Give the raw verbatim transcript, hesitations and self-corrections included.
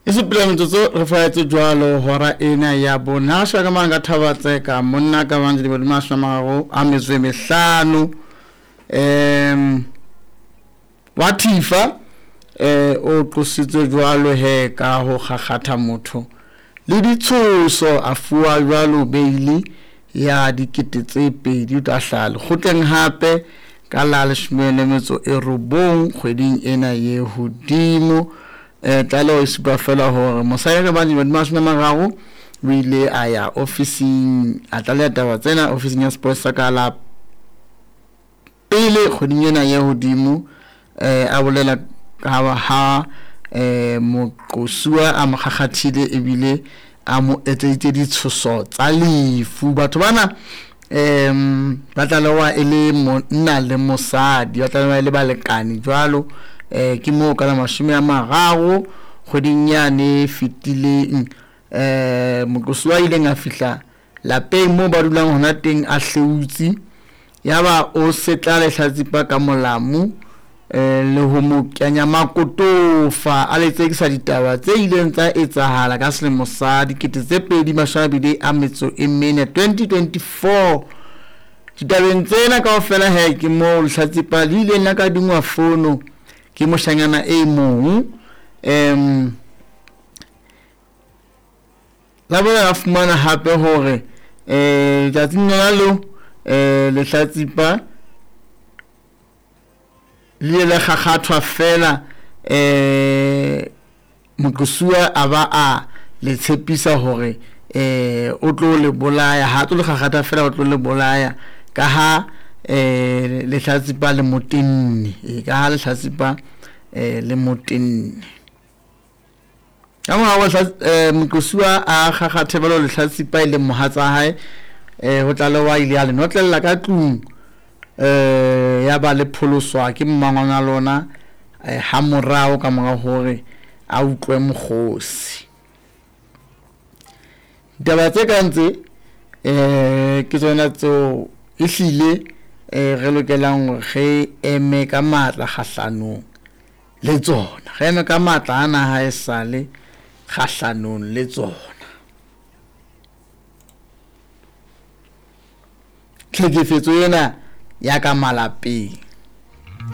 E supile metsotso re faetse jwalo hora ena ya bone. Ha sheba ka mane ka Thabatseka monna ka bang dilemo di mashome a mararo a metso e mehlano um wa Thifa eh o qositswe jwalo he ka ho kgakgatha motho le ditshoso, a fuwa jwalo beili ya dikete tse pedi. O tla hlaha lekgotleng hape ka la leshome le metso e robong kgweding ena ye hodimo. Eh tlaleho e supa fela hore mosadi ka bang dilemo di mashome a mararo o ile a ya ofising, a tlaleha taba tsena ofising ya sepolesa ka la pele kgweding ena ye hodimo. Eh a bolela ka ha eh moqosuwa a mo kgakgathile ebile a mo etseditse ditshoso tsa lefu. Batho bana um ba tlalewa e le monna le mosadi, ba tlalewa e le balekane jwalo. Eh ke moo ka la mashome a mararo kgweding yane e fetileng eh moqosuwa a ileng a fihla lapeng moo ba dulang hona teng a hleutse, yaba o setla lehlatsipa ka molamu eh le ho mo kenya makotofa, a le tsekisa ditaba tse ileng tsa etsahala ka selemo sa dikete tse pedi mashome a mabedi a metso e mene twenty twenty-four. Ditabeng tsena kaofela he ke moo lehlatsipa le ileng la kadingwa fono ke moshanyana e mong, em la boela la fumana hape hore eh letsatsing lona leo eh lehlatsipa le ile la kgakgathwa fela eh moqosuwa a ba a le tshepisa hore eh o tlo le bolaya, ha tlo le kgakgatha fela o tlo le bolaya ka ha eh lehlatsipa le motenne, ka ha lehlatsipa eh le motenne. Ka morao eh moqosuwa a kgakgathe jwalo lehlatsipa e leng mohatsa hae, eh ho tlalewa ile a le notlella ka tlung eh ya ba le pholoswa ke mmangwana lona eh ha morao ka mora hore a utlwe mokgosi. Ditaba tse kang tse eh ke tsona tseo ehlile eh re lokelang hore re eme ka matla kgahlanong le tsona, re eme ka matla ana ha e sale kgahlanong le tsona. Tlhekefetso ena ya ka malapeng.